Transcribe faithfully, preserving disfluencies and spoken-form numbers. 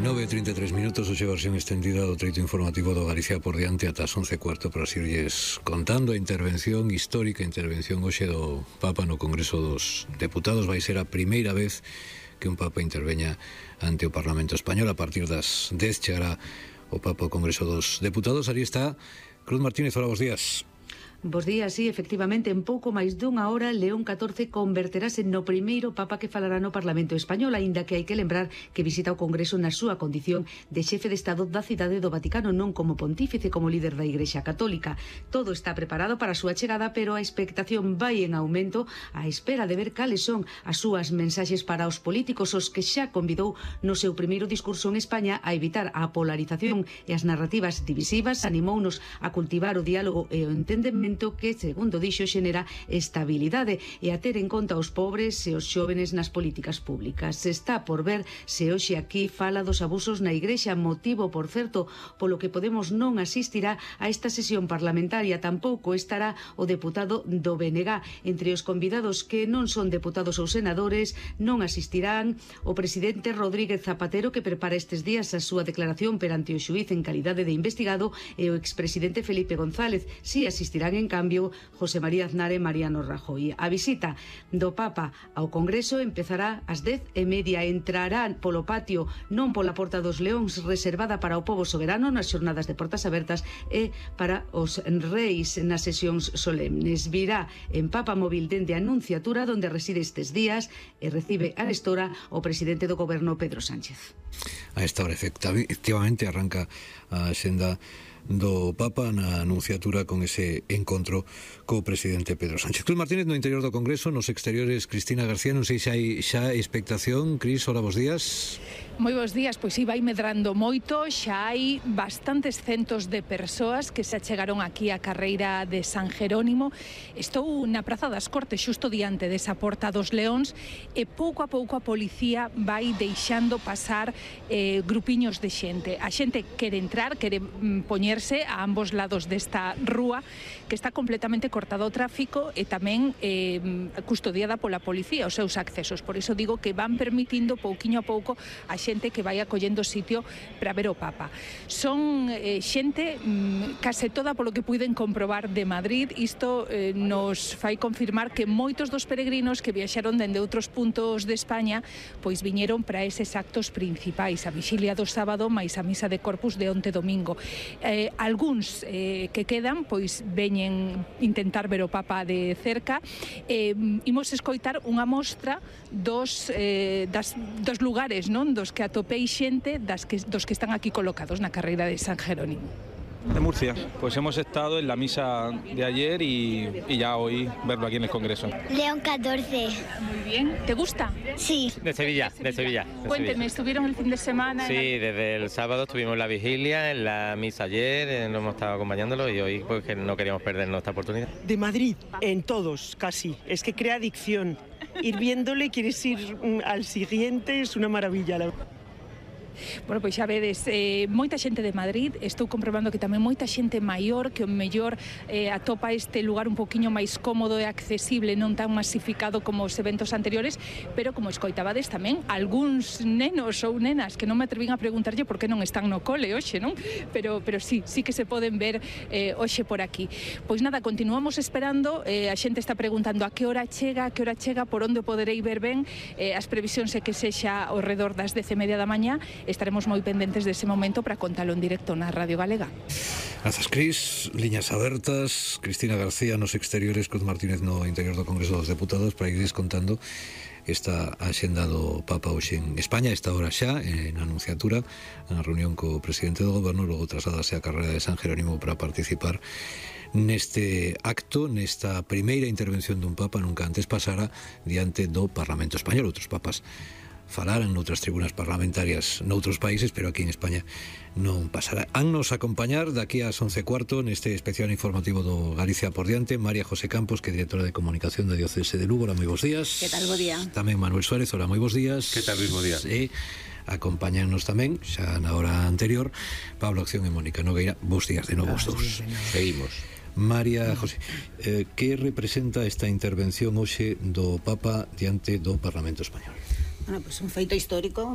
nove e trinta e tres minutos, hoxe versión extendida do treito informativo do Galicia por diante ata as once e cuarto para irlles contando a intervención histórica, a intervención hoxe do Papa no Congreso dos Deputados. Vai ser a primeira vez que un Papa interveña ante o Parlamento Español. A partir das dez chegará o Papa ao Congreso dos Deputados. Ali está Cruz Martínez, hola, bos días. Bos días, sí, efectivamente, en pouco máis dunha hora León catorce converterase no primeiro Papa que falará no Parlamento Español, aínda que hai que lembrar que visita o Congreso na súa condición de xefe de Estado da cidade do Vaticano, non como pontífice, como líder da Igrexa Católica. Todo está preparado para a súa chegada, pero a expectación vai en aumento á espera de ver cales son as súas mensaxes para os políticos, os que xa convidou no seu primeiro discurso en España a evitar a polarización e as narrativas divisivas, animounos a cultivar o diálogo e o entendemento que, segundo dixo, xenera estabilidade e a ter en conta os pobres e os xóvenes nas políticas públicas. Está por ver se hoxe aquí fala dos abusos na Igrexa, motivo, por certo, polo que Podemos non asistirá a esta sesión parlamentaria. Tampouco estará o deputado do B N G. Entre os convidados que non son deputados ou senadores non asistirán o presidente Rodríguez Zapatero, que prepara estes días a súa declaración perante o xuíz en calidade de investigado, e o expresidente Felipe González. Si asistirán en En cambio, José María Aznar e Mariano Rajoy. A visita do Papa ao Congreso empezará ás dez e media. Entrarán polo patio, non pola Porta dos Leóns, reservada para o pobo soberano nas xornadas de portas abertas, e para os reis nas sesións solemnes. Virá en Papa móvil dende a Anunciatura, onde reside estes días, e recibe a estora o presidente do Goberno, Pedro Sánchez. A esta hora, efectivamente, arranca a xenda do Papa na Anunciatura con ese encontro co presidente Pedro Sánchez. Cruz Martínez no interior do Congreso, nos exteriores Cristina García. Non sei se hai xa expectación. Cris, hola, bos días. Moi bons días, pois si vai medrando moito, xa hai bastantes centos de persoas que se achegaron aquí á carreira de San Jerónimo. Estou na Praza das Cortes, xusto diante desa Porta dos Leóns, e pouco a pouco a policía vai deixando pasar eh, grupiños de xente. A xente quere entrar, quere mm, poñerse a ambos lados desta rúa, que está completamente cortado ao tráfico e tamén eh, custodiada pola policía os seus accesos. Por iso digo que van permitindo pouquiño a pouco a xente que vai acollendo sitio para ver o Papa. Son eh, xente mm, case toda, polo que puiden comprobar, de Madrid. Isto eh, nos fai confirmar que moitos dos peregrinos que viaxaron dende outros puntos de España pois viñeron para eses actos principais, a vixilia do sábado máis a misa de Corpus de onte domingo. Eh, algúns eh, que quedan pois veñen intentar ver o Papa de cerca. Eh, imos escoitar unha mostra dos, eh, das, dos lugares, non, dos que atopei xente das que, dos que están aquí colocados na carreira de San Jerónimo. De Murcia, pues hemos estado en la misa de ayer y, y ya hoy verlo aquí en el Congreso. León catorce. Muy bien. ¿Te gusta? Sí. De Sevilla, de Sevilla. De Cuénteme, Sevilla. ¿estuvieron el fin de semana? Sí, desde el sábado estuvimos la vigilia, en la misa ayer, eh, nos hemos estado acompañándolo y hoy pues que no queríamos perdernos esta oportunidad. De Madrid, en todos, casi. Es que crea adicción. Ir viéndole, quieres ir mm, al siguiente, es una maravilla, la verdad. Bueno, pois xa vedes, eh, moita xente de Madrid. Estou comprobando que tamén moita xente maior, que o mellor eh, atopa este lugar un poquinho máis cómodo e accesible, non tan masificado como os eventos anteriores, pero como escoitabades tamén algúns nenos ou nenas que non me atrevín a preguntarlle por que non están no cole hoxe, non? Pero, pero sí, sí que se poden ver eh, hoxe por aquí. Pois nada, continuamos esperando, eh, a xente está preguntando a que hora chega, a que hora chega, por onde poderei ver ben. Eh, as previsións é que sexa ao redor das dez e media da mañá. Estaremos moi pendentes dese momento para contalo en directo na Radio Galega. Grazas, Cris. Liñas abertas. Cristina García nos exteriores, Cruz Martínez no interior do Congreso dos Deputados, para ir contando esta axenda do Papa hoxe en España, esta hora xa, en Anunciatura, na reunión co presidente do Goberno, logo trasladase a carreira de San Jerónimo para participar neste acto, nesta primeira intervención dun Papa. Nunca antes pasara diante do Parlamento Español. Outros papas falaran noutras tribunas parlamentarias noutros países, pero aquí en España non pasará. Hannos acompañar daqui ás once e cuarto neste especial informativo do Galicia por diante María José Campos, que é directora de comunicación da Diocese de Lugo. Hola, moi bons días. Que tal, bo día. Tamén Manuel Suárez, hola, moi bons días. Que tal, Luis, bo día. E acompañarnos tamén, xa na hora anterior, Pablo Acción e Mónica Nogueira. Bos días de novo os dous. Seguimos. María José, eh, que representa esta intervención hoxe do Papa diante do Parlamento Español? Bueno, pues un feito histórico.